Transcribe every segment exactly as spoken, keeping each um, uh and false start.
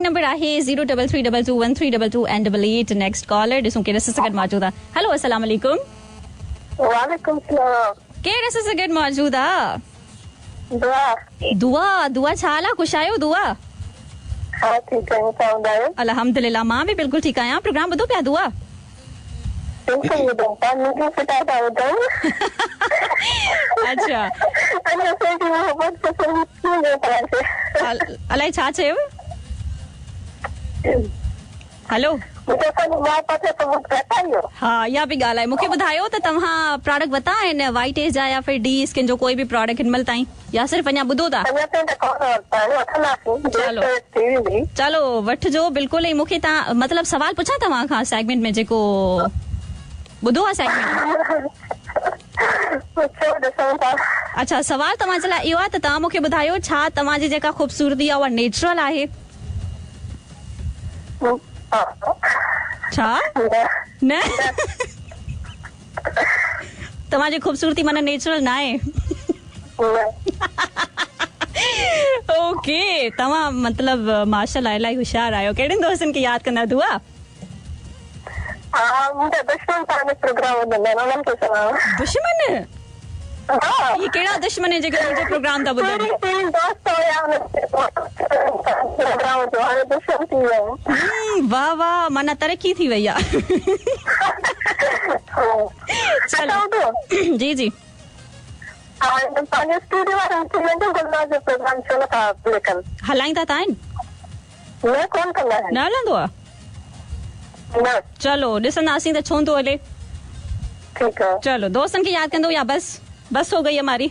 Number आहे zero double three double two one three double two and double eight. Next caller ॾिसूं केरु असां सां गॾु मौजूदु आहे। हेलो, अस्सलाम वालेकुम। वालेकुम सलाम। केरु असां सां गॾु मौजूदु आहे? दुआ। दुआ, दुआ छा हाल आहे? ख़ुशि आहियो दुआ? हा, ठीकु आहियूं, तव्हां ॿुधायो? अल्हम्दुलिल्लाह, मां बि बिल्कुलु ठीकु आहियां। प्रोग्राम ॿुधो पिया दुआ? बिल्कुलु ॿुधूं था, मूंखे फिटा था ॿुधूं। अच्छा, अने असांजी मोहबत पसंदि थी वियो तव्हांखे। अलाए छा चयो? हेलो, हा, इहा बि ॻाल्हि आहे। मूंखे ॿुधायो त तव्हां प्रोडक्ट वरिता आहिनि वाइट एज जा या फिर डी स्किन जो कोई बि प्रोडक्ट हिन महिल ताईं, या सिर्फ़ अञा ॿुधो था? चलो चलो, वठिजो बिल्कुलु। ऐं मूंखे तव्हां मतिलबु सवाल पुछां तव्हां खां सेगमेंट में जेको ॿुधो आहे सेगमेंट? अच्छा, सवाल तव्हांजे लाइ इहो आहे त तव्हां मूंखे ॿुधायो छा तव्हांजी जेका ख़ूबसूरती आहे उहा नेचुरल आहे? छा न तव्हांजी ख़ूबसूरती माना नेचुरल न आहे? ओके, तव्हां मतिलबु माशाअल्लाह इलाही होशियार आहियो। कहिड़नि दोस्तनि खे यादि कंदा दुआ? दुश्मन? ये कहिड़ा दुश्मन आहिनि जेके तुंहिंजो प्रोग्राम था ॿुधनि? वाह वाह, माना तरक़ी थी वई आहे। चलो जी जी, हलाईंदा त आहिनि? न हलंदो आहे? चलो ॾिसंदासीं त छो थो हले। चलो, दोस्तनि खे यादि कंदो या बस बस हो गई हमारी?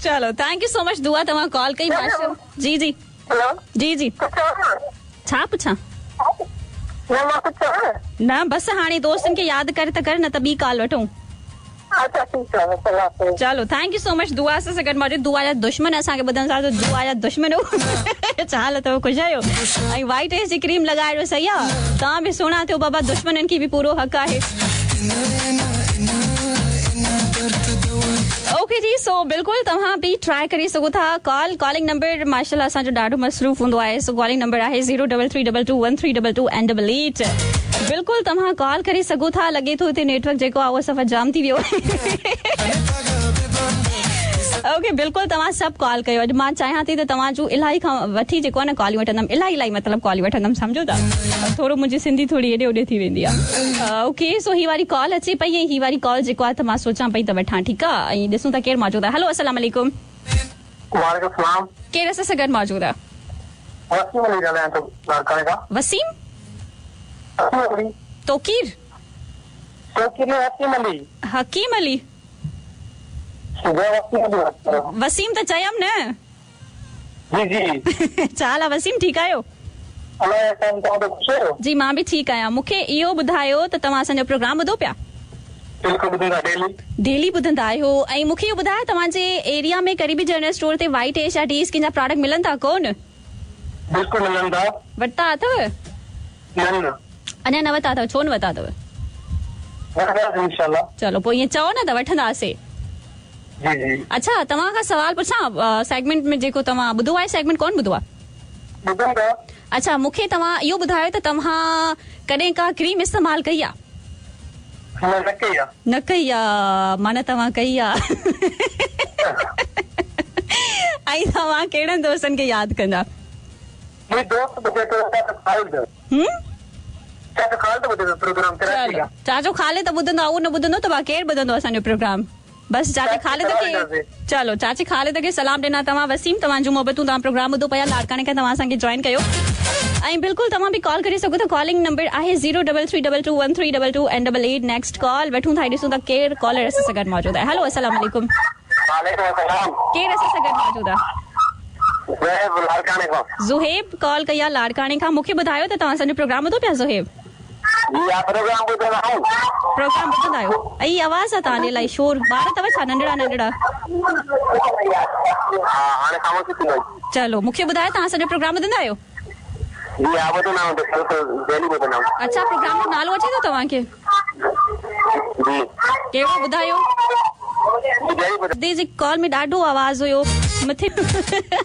चलो, thank you so much दुआ, तव्हां कॉल कई। माशा जी जी जी जी, छा पुछां? न बस हाणे दोस्तनि खे यादि कर त कर, न त ॿी कॉल वठूं। चलो, thank you so much दुआ असां सां गॾु मौजूदु। दुआ जा दुश्मन असांखे ॿुधनि था, दुआ जा दुश्मन छा हाल अथव? ख़ुशि आहियो? ऐं वाइट एज जी क्रीम लॻाए सही आहे, तव्हां बि सुहिणा थियो बाबा, दुश्मननि खे बि पूरो हक़ आहे। ओके जी, सो बिल्कुलु तव्हां बि ट्राई करे सघो था। कॉल कॉलिंग नंबर माशाअल्लाह असांजो ॾाढो मसरूफ़ हूंदो आहे। सो कॉलिंग नंबर आहे zero double three double two one three double two and double eight. बिल्कुलु तव्हां कॉल करे सघो था। लॻे थो हिते नेटवर्क जेको आहे उहो सफ़ा जाम थी वियो। ओके, बिल्कुलु तव्हां सभु कॉल कयो। अॼु मां चाहियां थी त तव्हां जूं इलाही खां वठी जेको आहे न कॉलियूं वठंदमि, इलाही इलाही मतिलबु कॉलियूं वठंदमि, सम्झो था? थोरो मुंहिंजी सिंधी थोरी हेॾे होॾे थी वेंदी आहे। ओके, सो ही वारी कॉल अचे पई ऐं ही वारी कॉल जेको आहे त मां सोचां पई त वठां, ठीकु आहे? ऐं ॾिसूं था केरु मौजूदु आहे। हेलो, अस्सलाम वालेकुम। वालेकुम सलाम। केरु असां सां गॾु मौजूदु आहे? वसीम अली ॻाल्हायां थो लाड़काणे खां। वसीम? तोकीर? तोकीर हकीम अली। हकीम अली? वसीम त चयमि न। जी जी। छा हाल आहे वसीम, ठीकु आहियो? जी मां बि ठीकु आहियां। मूंखे इहो ॿुधायो त तव्हां असांजो प्रोग्राम ॿुधो पिया? डेली ॿुधंदा आहियो। ऐं मूंखे इहो ॿुधायो तव्हांजे एरिया में करीबी जनरल स्टोर ते वाइट एश या डी स्किन जा प्रोडक्ट मिलनि था कोन? बिल्कुलु मिलनि था। वरिता अथव? न, अञा न वरिता अथव? छो न वरिता अथव? इंशाल्लाह। चलो पोइ ईअं चओ न त वठंदासीं। जी जी। अच्छा, तव्हां खां सवाल पुछां सेगमेंट में जेको तव्हां ॿुधो आहे, सेगमेंट कोन ॿुधो आहे? अच्छा, मूंखे तव्हां इहो ॿुधायो त तव्हां कॾहिं का क्रीम इस्तेमालु कई आहे? न कई आहे। न कई आहे, माना तव्हां कई आहे। ऐं तव्हां कहिड़नि दोस्तनि खे यादि कंदा? चाचो खालिद त ॿुधंदो आहे, उहो न ॿुधंदो त केरु ॿुधंदो असांजो प्रोग्राम? बसि चाचे खालिद खे, चलो चाचे खालिद खे सलाम ॾिना तव्हां। वसीम, तव्हांजूं मोहबतूं, तव्हां प्रोग्राम ॿुधो पिया, लाड़काणे खां तव्हां असांखे जॉइन कयो। ऐं बिल्कुलु तव्हां बि कॉल करे सघो था। कॉलिंग नंबर आहे zero double three double two one three double two and double eight. Next call वठूं था, ॾिसूं था केरु कॉलर असां सां गॾु मौजूदु आहे। हेलो, अस्सलाम वालेकुम। केरु असां सां गॾु मौजूदु आहे? ज़ुहेब कॉल कई आहे लाड़काणे खां। मूंखे ॿुधायो त तव्हां असांजो प्रोग्राम ॿुधो पिया? ज़ुहेब, प्रोग्राम ॿुधंदा आहियूं। प्रोग्राम ॿुधंदा आहियो? ऐं आवाज़ आहे तव्हांजे इलाही शोर, ॿार अथव छा नंढड़ा नंढड़ा? हा, हाणे ख़ामोशी थी वई। चलो, मूंखे ॿुधायो तव्हां असांजो प्रोग्राम ॿुधंदा आहियो? जी हा, ॿुधंदा आहियूं, बिल्कुलु डेली ॿुधंदा आहियूं। अच्छा, प्रोग्राम जो नालो अचे थो तव्हांखे? जी। कहिड़ो ॿुधायो? जी कॉल में ॾाढो आवाज़ हुयो मथे।